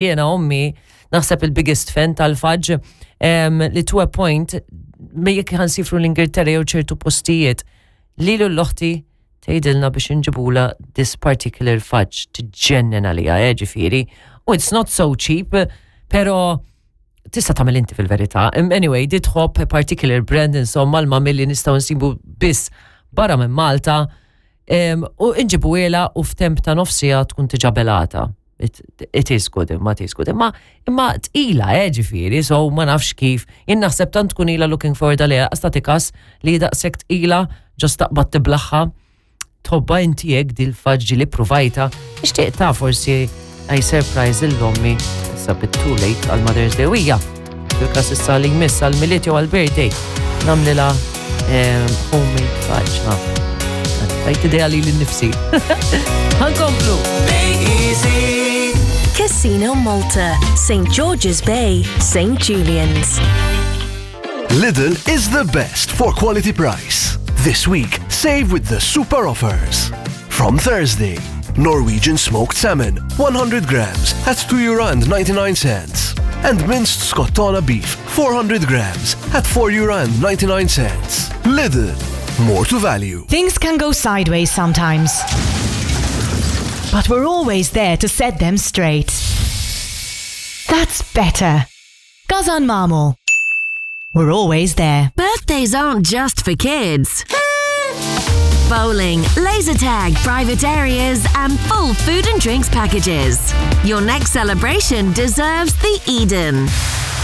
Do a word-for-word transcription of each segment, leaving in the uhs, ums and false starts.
Jiena ommi naħseb il-biggest fan tal-fudge em, li to a point me jekk ħa nsifru l-Ingilterra jew ċertu postijiet li l-oħti tgħidilna biex inġibula this particular fudge tiġġennen għalija, eh, ġifieri. U it's not so cheap, pero tista' tagħmel inti fil-verità. Im- Anyway, di tħobb a particular brand insomma l-mami li nistgħu nsibu biss barra minn Malta em, u nġibuhielha u f'temp ta' nofs siegħa tkun diġà belgħetha. It, it is good, imma it is good. Imma, imma tqila, eh, ġifieri, so ma nafx kif. Jien naħseb tant tkun ila looking forward għaliha, għastatikas li daqshekk tqila, just taqbad tiblagħha. Tħobbha inti hekk dil-fudge li provajta, nixtieq ta' forsi I surprise 'l ommi, issa bit too late għal Mother's Day wija. Fil-kas issa li jmiss għal Milied jew għal birthday, nagħmlilha eh, homemade fudge. Ha. Tajt idea li l-nifsi. Ħa nkomplu. Casino Malta, St. George's Bay, St. Julian's. Lidl is the best for quality price. This week, save with the super offers. From Thursday, Norwegian smoked salmon, one hundred grams at two euro and ninety-nine cents. And minced Scottona beef, four hundred grams at four euro and ninety-nine cents. Lidl, more to value. Things can go sideways sometimes. But we're always there to set them straight. That's better. Gazan Marmor. We're always there. Birthdays aren't just for kids. Bowling, laser tag, private areas, and full food and drinks packages. Your next celebration deserves the Eden.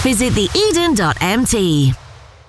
Visit the Eden dot M T.